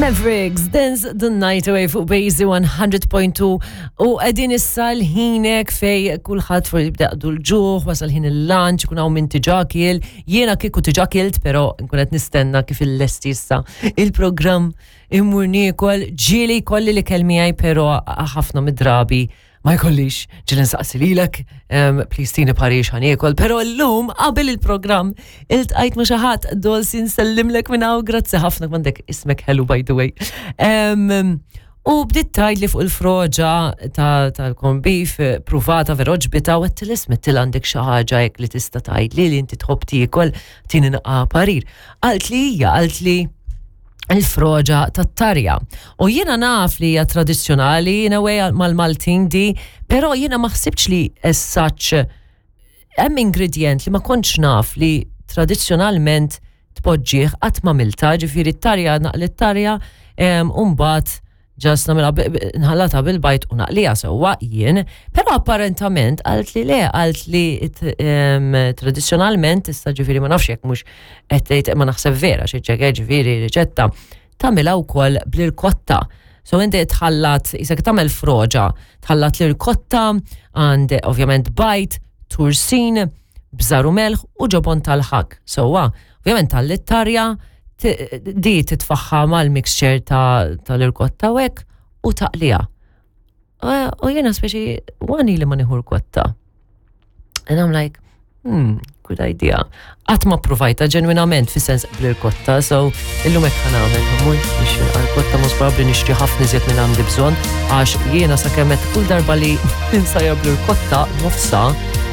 Mavericks, Dance the Night Away fuq Bazy 100.2 u għedin issa l-ħinek fej kulħadd fuq jibda l-ġuħ, wasal ħin il-lunch, kun hawn min tiġa kiel, jiena kieku tiġa kilt, pero nkun qed nistenna kif il-lesti issa il-programm immur niekol, ġieli kolli li kelmijaj, pero ħafna mid-drabi ma jkollix ġieli nsaqsi lilek, um, please tini parix ħa niekol, pero llum qabel il-programm iltqajt ma' xi ħadd Dolsi nsellimlek minn hawn, grazzi ħafna m'għandek ismek ħelu by the way. Um, u bdiet tgħidli fuq il-froġa tal-corned beef pruvata vera ġbita u għedtilha isma' għandek xi ħaġa hekk li tista' tgħidli li inti tħobb tiekol tini naqra parir. Qalt li hija, qalt li il-froġa tat-tarja. U jiena naf li hija tradizzjonali in a way mal-Maltin di, però jiena ma ħsibx li as such hemm ingredient li ma kontx naf li tradizzjonalment tpoġġih qatt ma milta, ġifieri t-tarja naqli t-tarja u mbagħad just nagħmilha nħallata bil-bajd u naqliha sewwa jien, però apparentament qalt li le, qalt li tradizzjonalment issa ġifieri ma nafx jekk mhux qed tgħid ma naħseb vera xi ċekk ġifieri riċetta tagħmilha wkoll bl-irkotta. So inti tħallat, isek tagħmel froġa, tħallat l-irkotta, għand ovvjament bajd, tursin, bżar u melħ u ġobon tal-ħak. Sewwa, ovvjament tal-tarja di titfaħħa mal-mixture tal-irkotta u hekk u taqliha. U jiena speċi għani li ma nieħu rkotta. And I'm like, good idea. Qatt ma provajta ġenwinament fi sens bl-irkotta, so illum hekk ħa nagħmel, ħa mmur nixtri rkotta mhux probabbli nixtri ħafna iżjed minn għandi bżonn għax jiena sakemm qed kull darba li nsajjar bl-irkotta nofsa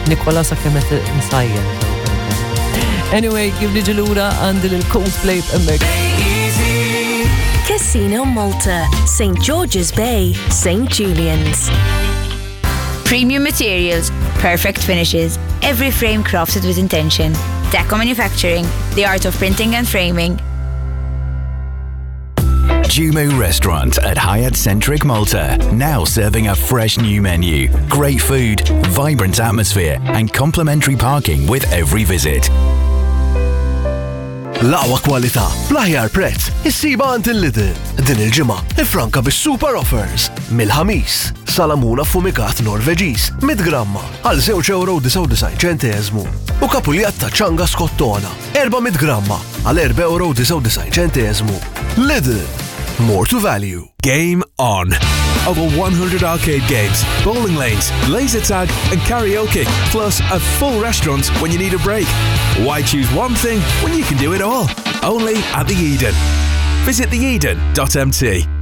nikolha sakemm qed nsajjar. Anyway, kif niġi lura għandi l-Coldplay hemmhekk. Casino Malta, St. George's Bay, St. Julian's. Premium materials, perfect finishes, every frame crafted with intention. Deco Manufacturing, the art of printing and framing. Jumu Restaurant at Hyatt Centric Malta, now serving a fresh new menu, great food, vibrant atmosphere, and complimentary parking with every visit. L-aqwa kwalità, bl-aħjar prezz, issibha għand il-Lidl. Din il-ġimgħa, ifranka bis-super offers. Mill-ħamis, salamuna fumikat Norveġiż, 100 gramma, għal 2,99 ċenteżmu. U kapuljatta ċanga skottona, 400 gramma, għal 4,99 ċenteżmu. Lidl, more to value. Game on! Over 100 arcade games, bowling lanes, laser tag, and karaoke, plus a full restaurant when you need a break. Why choose one thing when you can do it all? Only at the Eden. Visit theeden.mt.